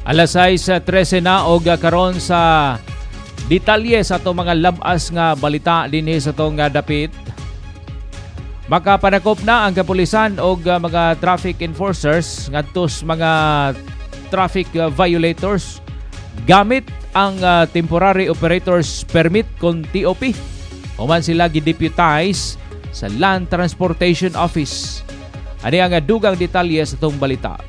Alas 6:13 na og karon sa detalye sa atong mga labas nga balita dinhi sa atong dapit. Makapanakop na ang kapulisan og mga traffic enforcers ngadto sa mga traffic violators gamit ang Temporary Operators Permit kon TOP. Human sila gideputize sa Land Transportation Office. Ani ang dugang detalye sa atong balita.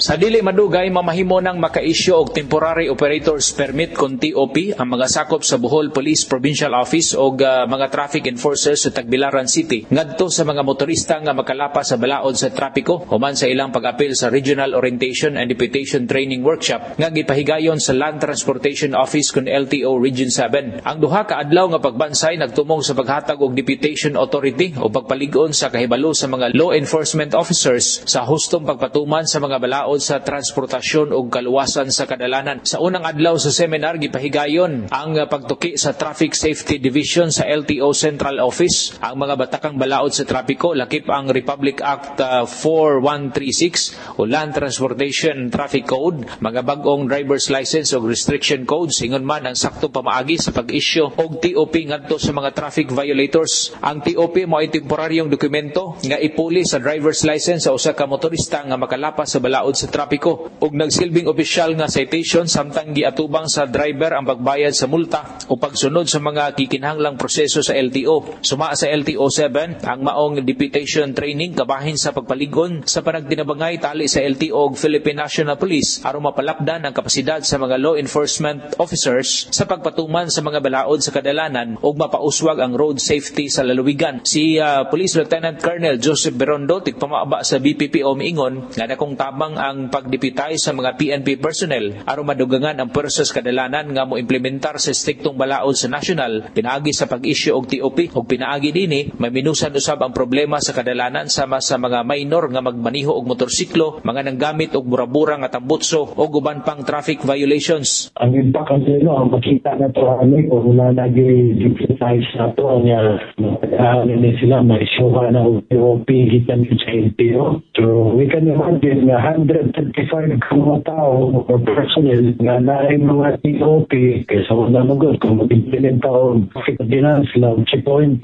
Sa dili madugay, mamahimo nang makaisyu og Temporary Operators Permit kon TOP ang mga sakop sa Bohol Police Provincial Office og mga traffic enforcers sa Tagbilaran City ngadto sa mga motorista nga makalapas sa balaod sa trapiko human sa ilang pag-apil sa Regional Orientation and Deputation Training Workshop nga gipahigayon sa Land Transportation Office kon LTO Region 7. Ang duha ka adlaw nga pagbansay nagtumong sa paghatag og deputation authority o pagpalig-on sa kahibalo sa mga law enforcement officers sa hustong pagpatuman sa mga balaod sa transportasyon ug kaluwasan sa kadalanan. Sa unang adlaw sa seminar, gipahigayon ang pagtuki sa Traffic Safety Division sa LTO Central Office ang mga batakang balaod sa trapiko, lakip ang Republic Act 4136 o Land Transportation Traffic Code, mga bag-ong driver's license ug restriction codes, ingon man ang sakto pamaagi sa pag-isyu og TOP ngadto sa mga traffic violators. Ang TOP mao ay temporaryong dokumento nga ipuli sa driver's license sa usa ka motorista nga makalapas sa balaod sa trapiko ug nagsilbing opisyal nga citation samtang giatubang sa driver ang pagbayad sa multa o pagsunod sa mga gikinahanglang proseso sa LTO. Suma sa LTO 7, ang maong deputation training kabahin sa pagpaligon sa panagtinabangay tali sa LTO ug Philippine National Police aron mapalapdan ang kapasidad sa mga law enforcement officers sa pagpatuman sa mga balaod sa kadalanan ug mapauswag ang road safety sa lalawigan. Si Police Lieutenant Colonel Joseph Berondo, tigpamaba sa BPPO, miingon nga dakong tabang ang pagdeputize sa mga PNP personnel aron madugangan ang pwersa sa kadalanan nga moimplementar sa estriktong balaod sa national pinaagi sa pag-issue og TOP, ug pinaagi dinhi maminusan usab ang problema sa kadalanan sama sa mga minor nga magmaniho og motorsiklo, mga nanggamit og burabura nga tambutso og uban pang traffic violations. Ang impact ang no, makita na to ani kung wala nag-deputize na to niya, sila ma-issue na og TOP gikan sa LTO. So we can imagine nga 135 ka mga tao or personnel nga naay mga TOP kaysa wala mo gud kung mag-implement og traffic ordinance lang checkpoint,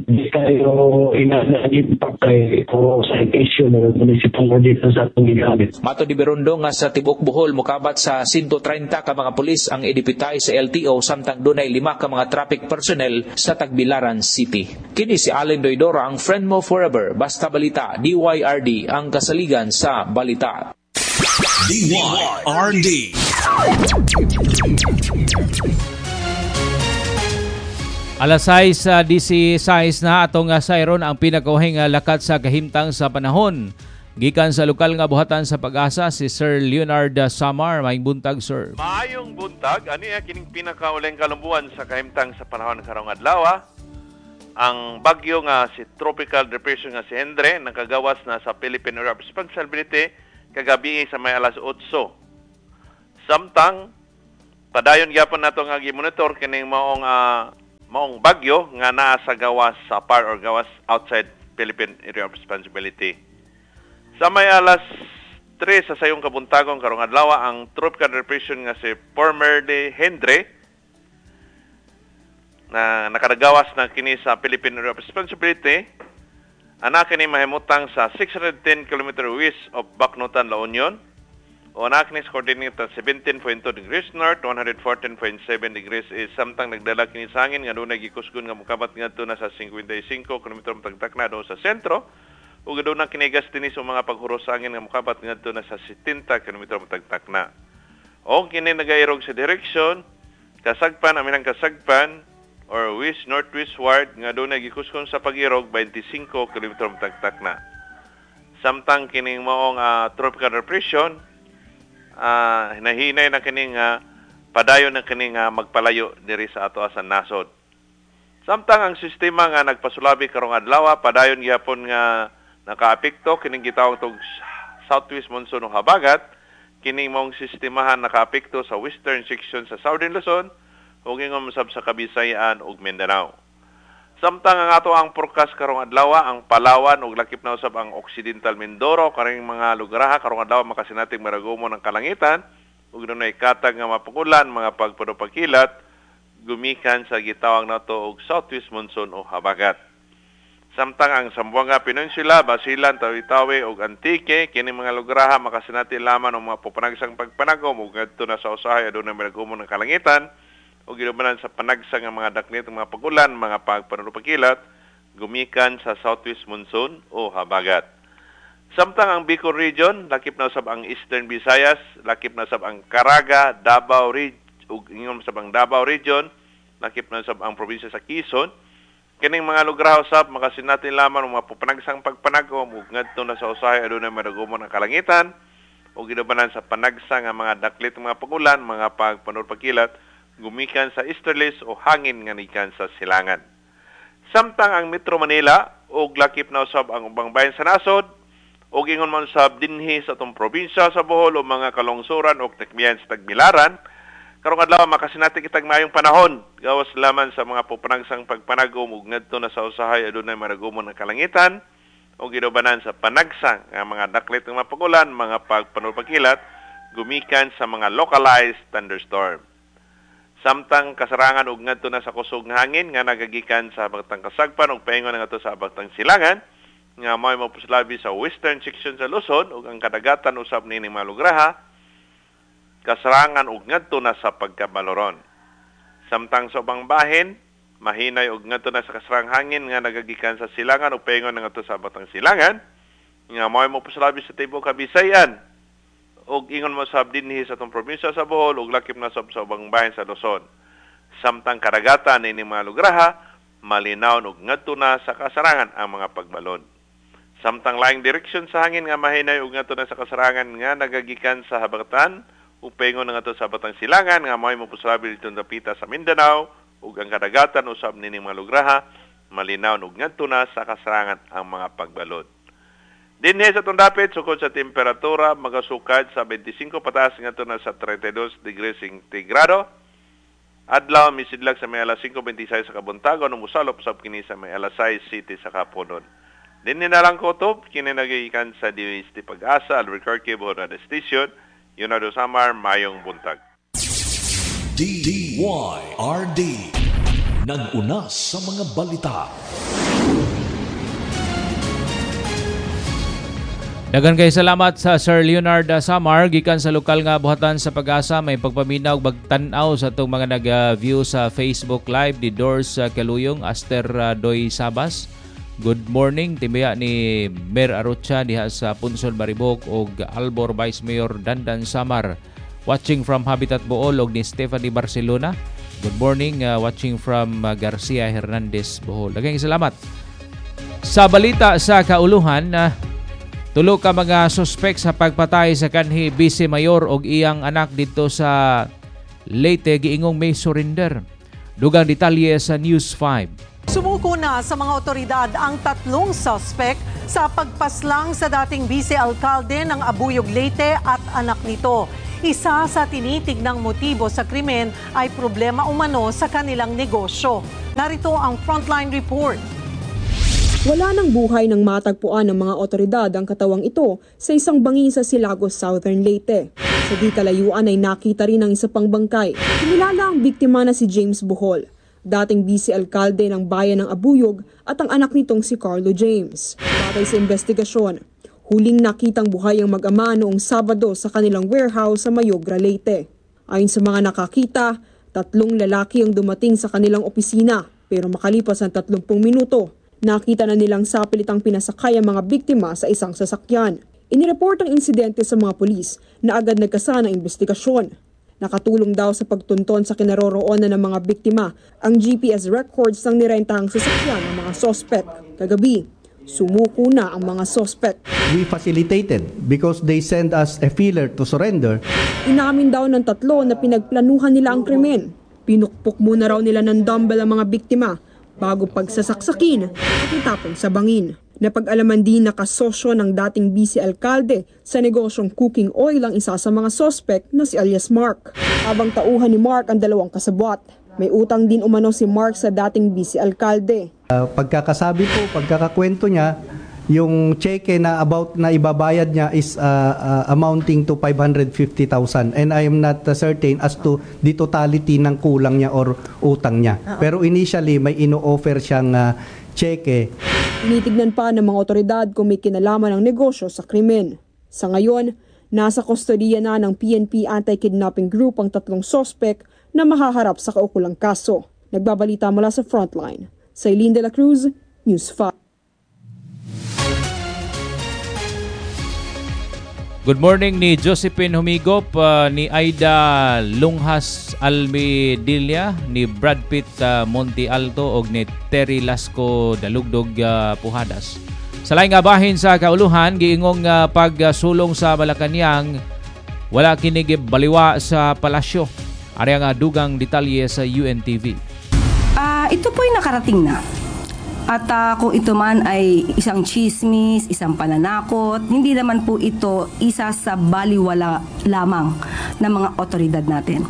di kayo ina-impact kay puro citation or municipal ordinance atong gigamit. Mato di Berondo nga sa tibuok Bohol mokabat sa 130 ka mga pulis ang ideputize sa LTO samtang dunay 5 ka mga traffic personnel sa Tagbilaran City. Kini si Allen Doydora, ang friend mo forever. Basta Balita, DYRD, ang kasaligan sa balita. DYRD. Alas 6:16 na atong sayron ang pinakauhing lakat sa kahimtang sa panahon. Gikan sa lokal nga buhatan sa Pag-asa si Sir Leonard Samar. Maayong buntag, sir. Maayong buntag. Ani kining pinakauleng kalumbuan sa kahimtang sa panahon karong adlaw. Ang bagyo nga si Tropical Depression nga si Hendre nakagawas na sa Philippine Area of Responsibility kagabi sa may alas 8. Samtang padayon gyapon nato nga gi-monitor kining maong bagyo nga naa sa gawas sa par or gawas outside Philippine Area of Responsibility. Sa may alas 3 sa sayong kabuntagon karong adlaw, ang Tropical Depression nga si formerly Hendre na nakadagawas na kini sa Philippine Area of Responsibility, anak kini mahimutang sa 610 km west of Bacnotan, La Union, o anak kini sa coordinate 17.2 degrees north, 114.7 degrees east. Samtang nagdala kini sa hangin nga dunay gikusgon nga mokabat ngadto na sa 55 km matagtak na do sa sentro, ug aduna kini gas dinhi sa mga paghuros sa hangin nga mokabat ngadto na sa 70 km matagtak na. O kini nagairog sa direksyon kasagpan, aminang kasagpan or west northwestward nga dunay gikuskon sa pag-irog 25 km matagtak na. Samtang kining maong tropical depression hinahinay na kining padayon na kining magpalayo diri sa ato sa nasod. Samtang ang sistema nga nagpasulabi karong adlaw padayon gyapon nga nakaapekto kining gitawag tog southwest monsoon o habagat, kining maong sistemahan nakaapekto sa western section sa Southern Luzon ug ingon sab sa Kabisayan ug Mindanao. Samtang ang ato ang forecast karong adlaw, ang Palawan ug lakip na usab ang Occidental Mindoro, karing mga lugar karong adlaw makasinating maragumo ng kalangitan ug dunay katag nga mapakulan, mga pagpadupagkilat gumikan sa gitawag nato og southwest monsoon o habagat. Samtang ang Zamboanga Peninsula, Basilan, Tawi-Tawi ug Antique, kini mga lugar makasinati lamang og mga pupanagsang pagpanagom ug ngadto na sa usahay adunay maragumo ng kalangitan o ginubanan sa panagsang nga mga daknit ng mga pagulan, mga pagpanupakilat, gumikan sa southwest monsoon o habagat. Samtang ang Bicol Region, lakip na usab ang Eastern Visayas, lakip na usab ang Caraga, Davao Region, ug ingon usab ang Davao Region, lakip na usab ang probinsya sa Quezon. Kining mga lugar usab makasinati lamang og mga pupanagsang pagpanagom ug ngadto na sa usahay adunay madagumon ang kalangitan ug ginubanan sa panagsang nga mga daklit ng mga pagulan, mga pagpanurpakilat, gumikan sa easterlies o hangin nga nikan sa silangan. Samtang ang Metro Manila ug lakip na usab ang ubang bayan sa nasod ug ingon man usab dinhi sa atong probinsya sa Bohol o mga kalungsuran ug tekmiyan sa Tagbilaran, karong adlaw makasinati kitag maayong panahon gawas laman sa mga pupanagsang pagpanagom ug ngadto na sa usahay adunay maragumon ang kalangitan ug ginubanan sa panagsang nga mga daklit ng mga pagulan, mga pagpanulpakilat gumikan sa mga localized thunderstorm. Samtang kasarangan ug ngadto na sa kusog nga hangin nga nagagikan sa habagatang Kasagpan ug paingon na ngadto sa habagatang Silangan nga mao'y mapuslabi sa western section sa Luzon ug ang kadagatan usab nining mga lugraha kasarangan ug ngadto na sa pagkabaloron. Samtang sa ubang bahin mahinay ug ngadto na sa kasarang hangin nga nagagikan sa silangan ug paingon na ngadto sa habagatang Silangan nga mao'y mapuslabi sa tibuok Kabisayan ug ingon mo sab dinhi sa atong probinsya sa Bohol ug lakip na sab sa ubang bahin sa Luzon. Samtang kadagatan nining mga lugraha malinaw ug ngadto na sa kasarangan ang mga pagbalon. Samtang laing direksyon sa hangin nga mahinay ug ngadto na sa kasarangan nga nagagikan sa habagatan ug paingon na ngadto sa habagatang Silangan nga mao'y mopuslabi didto dapita sa Mindanao ug ang kadagatan usab nining mga lugraha malinaw ug ngadto na sa kasarangan ang mga pagbalon. Dinhi sa atong dapit, sukod sa temperatura, magasukad sa 25 pataas ngadto na sa 32 degrees centigrado. Adlaw misidlag sa may alas 5:26 sa kabuntagon, musalop sab kini sa may alas 6 city sa kaponon. Dinhi na lang kutob, kini nagikan sa DWST Pag-asa, Albuquerque, Bohol Station, Leonardo Samar, mayong buntag. DYRD, nag-una sa mga balita. Dagan kay salamat sa Sir Leonard Samar gikan sa lokal nga buhatan sa Pag-asa. May pagpaminaw bagtan-aw sa atong mga nag-view sa Facebook Live di Doors Kaluyong, Aster Doy Sabas. Good morning timbaya ni Mer Arocha diha sa Punsol Baribok og Albor Vice Mayor Dandan Samar. Watching from Habitat Bool og ni Stephanie Barcelona. Good morning, watching from Garcia Hernandez Bohol. Daghang salamat. Sa balita sa kauluhan, tulo ka mga suspek sa pagpatay sa kanhi Vice Mayor og iyang anak didto sa Leyte giingong may surrender. Dugang detalye sa News 5. Sumuko na sa mga otoridad ang 3 suspek sa pagpaslang sa dating vice-alkalde ng Abuyog Leyte at anak nito. Isa sa tinitignang motibo sa krimen ay problema umano sa kanilang negosyo. Narito ang Frontline Report. Wala nang buhay ng matagpuan ng mga otoridad ang katawang ito sa isang bangin sa Silagos, Southern Leyte. Sa di kalayuan ay nakita rin ang isa pang bangkay. Kinilala ang biktima na si James Bohol, dating vice-alkalde ng bayan ng Abuyog at ang anak nitong si Carlo James. Batay sa investigasyon, huling nakitang buhay ang mag-ama noong Sabado sa kanilang warehouse sa Mayogra, Leyte. Ayon sa mga nakakita, 3 lalaki ang dumating sa kanilang opisina pero makalipas ang 30 minuto, nakita na nilang sapilitang pinasakay ang mga biktima sa isang sasakyan. Inireport ang insidente sa mga pulis na agad nagkasa ng investigasyon. Nakatulong daw sa pagtunton sa kinaroroonan ng mga biktima ang GPS records ng nirentahang sasakyan ng mga sospek. Kagabi, sumuko na ang mga sospek. We facilitated because they send us a feeler to surrender. Inamin daw ng 3 na pinagplanuhan nila ang krimen. Pinukpok muna raw nila ng dumbbell ang mga biktima bago pagsasaksakin at itapon sa bangin. Napag-alaman din na kasosyo ng dating vice-alkalde sa negosyong cooking oil ang isa sa mga sospek na si alias Mark. Habang tauhan ni Mark ang 2 kasabwat. May utang din umano si Mark sa dating vice-alkalde. Pagkakasabi po, pagkakakwento niya, yung cheque na about na ibabayad niya is amounting to 550,000, and I am not certain as to the totality ng kulang niya or utang niya. Pero initially, may ino-offer siyang cheque. Tinitignan pa ng mga otoridad kung may kinalaman ang negosyo sa krimen. Sa ngayon, nasa kustodiya na ng PNP Anti-Kidnapping Group ang tatlong sospek na mahaharap sa kaukulang kaso. Nagbabalita mula sa Frontline. Celine de la Cruz, News 5. Good morning ni Josephine Humigop, ni Aida Lunghas Almedilla, ni Brad Pitt Monte Alto og ni Terry Lasco Dalugdog Puhadas. Sa laing nga bahin sa kauluhan, giingong pagsulong sa Malacañang wala kini gibaliwa sa palasyo. Ari ang dugang detalye sa UNTV. Ito po'y nakarating na. At kung ito man ay isang chismis, isang pananakot, hindi naman po ito isa sa baliwala lamang ng mga otoridad natin.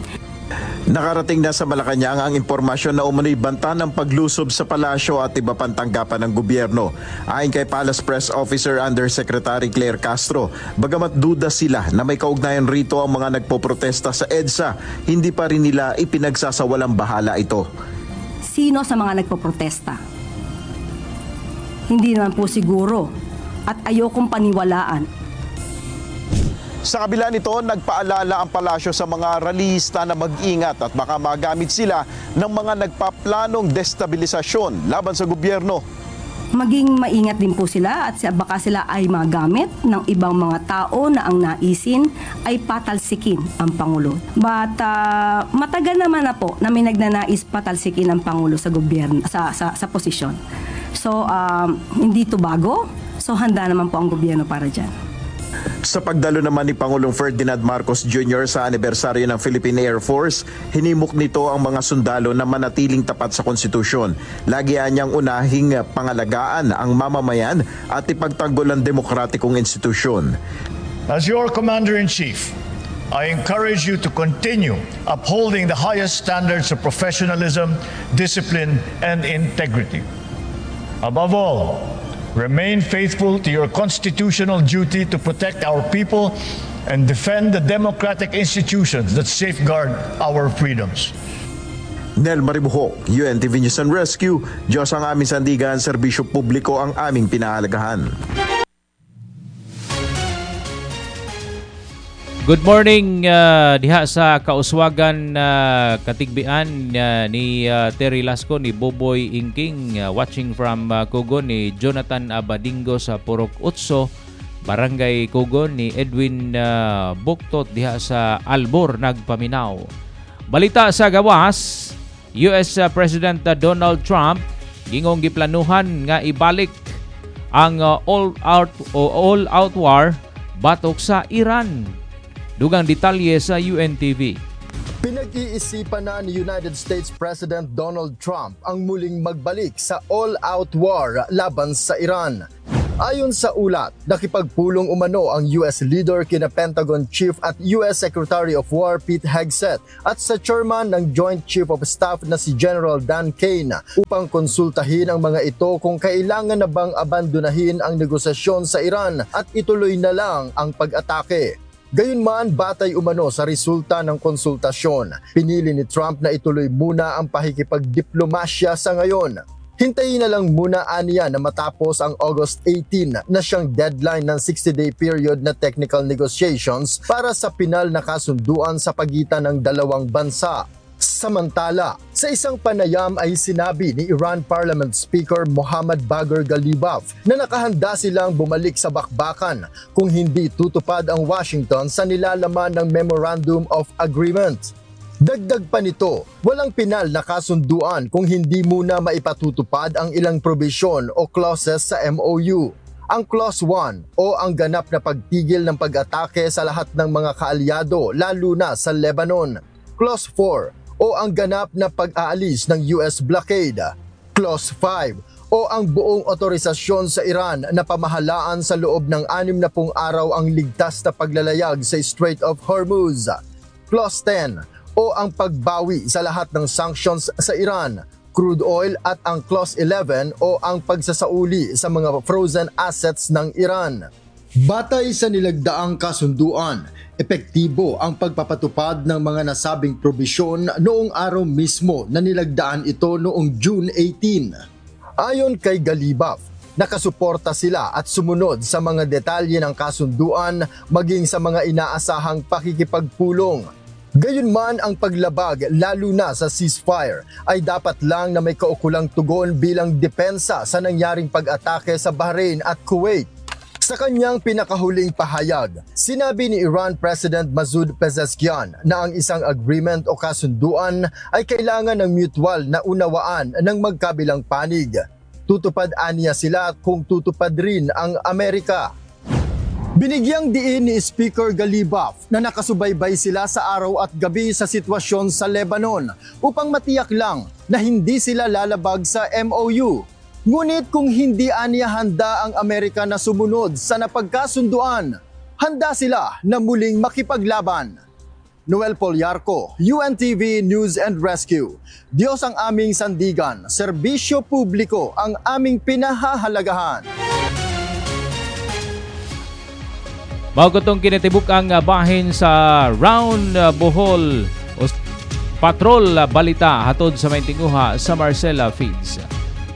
Nakarating na sa Malacañang ang impormasyon na umano'y banta ng paglusob sa palasyo at iba pang tanggapan ng gobyerno. Ayon kay Palace Press Officer Undersecretary Claire Castro, bagamat duda sila na may kaugnayan rito ang mga nagpoprotesta sa EDSA, hindi pa rin nila ipinagsasawalang bahala ito. Sino sa mga nagpoprotesta? Hindi naman po siguro at ayokong paniwalaan. Sa kabila nito, nagpaalala ang palasyo sa mga rallyista na mag-ingat at baka magamit sila ng mga nagpaplanong destabilisasyon laban sa gobyerno. Maging maingat din po sila at baka sila ay magamit ng ibang mga tao na ang naisin ay patalsikin ang Pangulo. But matagal naman na po na may nagnanais patalsikin ang Pangulo sa gobyerno, sa posisyon. So hindi ito bago, so handa naman po ang gobyerno para dyan. Sa pagdalo naman ni Pangulong Ferdinand Marcos Jr. sa anibersaryo ng Philippine Air Force, hinimok nito ang mga sundalo na manatiling tapat sa konstitusyon. Lagi niyang unahing pangalagaan ang mamamayan at ipagtanggol ang demokratikong institusyon. As your Commander-in-Chief, I encourage you to continue upholding the highest standards of professionalism, discipline, and integrity. Above all, remain faithful to your constitutional duty to protect our people and defend the democratic institutions that safeguard our freedoms. Nel Maribuhok, UNTV News and Rescue, Diyos ang aming sandigan, serbisyo publiko ang aming pinahalagahan. Good morning diha sa Kauswagan Katigbian ni Terry Lasco, ni Boboy Ingking, watching from Kugon, ni Jonathan Abadingo sa Purok Utso, Barangay Kugon, ni Edwin Buktot diha sa Albor, nagpaminaw. Balita sa gawas, US President Donald Trump gingong giplanuhan nga ibalik ang all-out war batok sa Iran. Dugang detalye sa UNTV. Pinag-iisipan na ni United States President Donald Trump ang muling magbalik sa all-out war laban sa Iran. Ayon sa ulat, nakipagpulong umano ang US leader kina Pentagon Chief at US Secretary of War Pete Hegseth at sa chairman ng Joint Chief of Staff na si General Dan Caine upang konsultahin ang mga ito kung kailangan na bang abandonahin ang negosasyon sa Iran at ituloy na lang ang pag-atake. Gayunman, batay umano sa resulta ng konsultasyon, pinili ni Trump na ituloy muna ang pakikipagdiplomasya sa ngayon. Hintayin na lang muna aniya na matapos ang August 18 na siyang deadline ng 60-day period na technical negotiations para sa pinal na kasunduan sa pagitan ng dalawang bansa. Samantala, sa isang panayam ay sinabi ni Iran Parliament Speaker Mohammad Bagher Ghalibaf na nakahanda silang bumalik sa bakbakan kung hindi tutupad ang Washington sa nilalaman ng Memorandum of Agreement. Dagdag pa nito, walang pinal na kasunduan kung hindi muna maipatutupad ang ilang probisyon o clauses sa MOU. Ang Clause 1 o ang ganap na pagtigil ng pag-atake sa lahat ng mga kaalyado lalo na sa Lebanon. Clause 4 o ang ganap na pag-aalis ng US blockade. Clause 5 o ang buong otorisasyon sa Iran na pamahalaan sa loob ng 60 araw ang ligtas na paglalayag sa Strait of Hormuz. Clause 10 o ang pagbawi sa lahat ng sanctions sa Iran, crude oil at ang Clause 11 o ang pagsasauli sa mga frozen assets ng Iran. Batay sa nilagdaang kasunduan, epektibo ang pagpapatupad ng mga nasabing probisyon noong araw mismo na nilagdaan ito noong June 18. Ayon kay Ghalibaf, nakasuporta sila at sumunod sa mga detalye ng kasunduan maging sa mga inaasahang pakikipagpulong. Gayunman, ang paglabag, lalo na sa ceasefire, ay dapat lang na may kaukulang tugon bilang depensa sa nangyaring pag-atake sa Bahrain at Kuwait. Sa kanyang pinakahuling pahayag, sinabi ni Iran President Masoud Pezeshkian na ang isang agreement o kasunduan ay kailangan ng mutual na unawaan ng magkabilang panig. Tutupad aniya sila kung tutupad rin ang Amerika. Binigyang diin ni Speaker Ghalibaf na nakasubaybay sila sa araw at gabi sa sitwasyon sa Lebanon upang matiyak lang na hindi sila lalabag sa MOU. Ngunit kung hindi aniya handa ang Amerika na sumunod sa napagkasunduan, handa sila na muling makipaglaban. Noel Poliarco, UNTV News and Rescue. Diyos ang aming sandigan, serbisyo publiko ang aming pinahahalagahan. Mao katong kinatibuk ang bahin sa Round Bohol o Patrol Balita hatod sa may tinguha sa Marcela Feeds.